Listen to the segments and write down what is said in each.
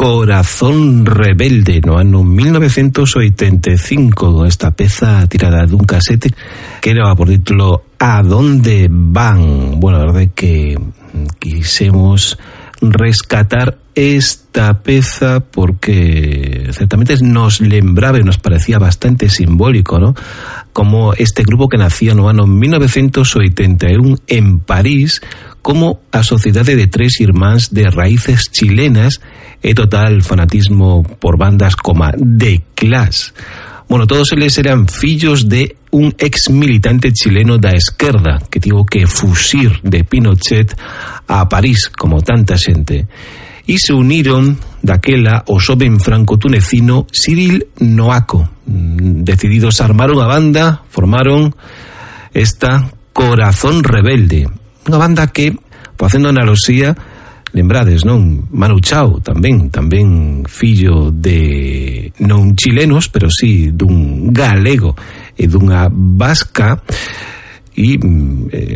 Corazón Rebelde no ano 1985, esta peza tirada dun casete que era por título A dónde van. Bueno, a verdade é que quisemos rescatar esta peza porque certamente nos lembraba e nos parecía bastante simbólico, ¿no? Como este grupo que nacía no ano 1981 en París como a sociedade de tres irmáns de raíces chilenas e total fanatismo por bandas como The Clash. Bueno, todos eles eran fillos de un ex militante chileno da esquerda que tivo que fuxir de Pinochet a París, como tanta xente. E se uniron daquela o xoven franco-tunecino Cyril Noaco. Decididos armaron a banda, formaron esta Corazón Rebelde. Unha banda que, facendo analoxía, lembrades, non? Manu Chao tamén fillo de non chilenos, pero sí dun galego e dunha vasca, e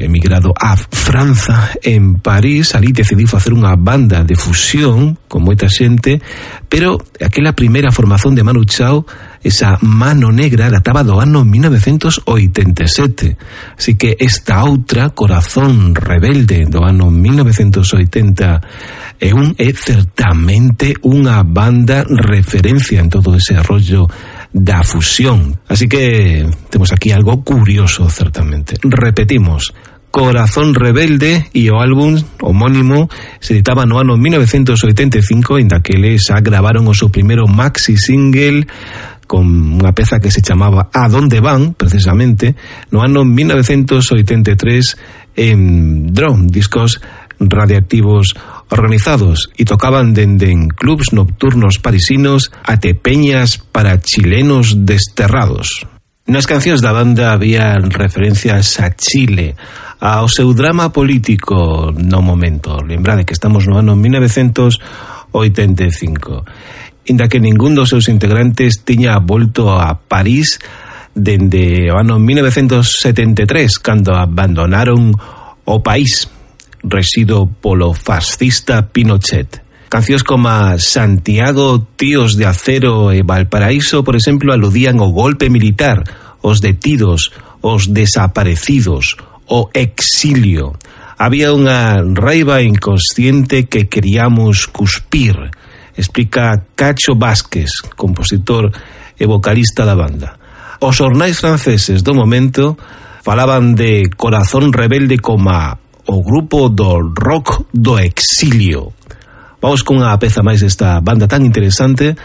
emigrado a Franza, en París. Ali decidiu facer unha banda de fusión con moita xente, pero aquela primeira formación de Manu Chao, esa mano negra, databa do ano 1987. Así que esta outra, Corazón Rebelde, do ano 1980, é certamente unha banda referencia en todo ese rollo da fusión. Así que temos aquí algo curioso, certamente. Repetimos, Corazón Rebelde e o álbum homónimo se editaba no ano 1985, en daqueles xa gravaron o seu primeiro maxi single con unha peza que se chamaba A dónde van, precisamente, no ano 1983 en Drone, discos radiactivos organizados, e tocaban dende en clubs nocturnos parisinos até peñas para chilenos desterrados. Nas cancións da banda había referencias a Chile, ao seu drama político no momento. Lembrade que estamos no ano 1985. Inda que ningún dos seus integrantes tiña volto a París dende o ano 1973, cando abandonaron o país resido polo fascista Pinochet. Cancións como Santiago, Tíos de Acero e Valparaíso, por exemplo, aludían ao golpe militar, os detidos, os desaparecidos, o exilio. Había unha raiva inconsciente que queríamos cuspir, explica Cacho Vázquez, compositor e vocalista da banda. Os xornais franceses do momento falaban de Corazón Rebelde como o grupo do rock do exilio. Vamos con unha peza máis desta banda tan interesante.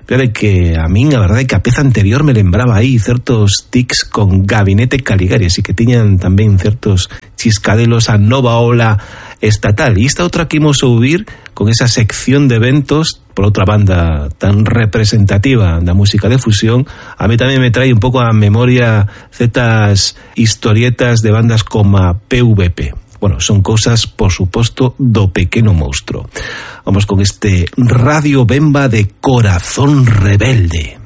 Claro que a min a verdade é que a peza anterior me lembraba aí certos tics con Gabinete Caligari, así que tiñan tamén certos chiscadelos a nova ola estatal. E esta outra que imos ouvir con esa sección de eventos por outra banda tan representativa da música de fusión, a mí tamén me trae un pouco a memoria certas historietas de bandas como PVP. Bueno, son cousas, por suposto, do Pequeno Monstro. Vamos con este Radio Bemba de Corazón Rebelde.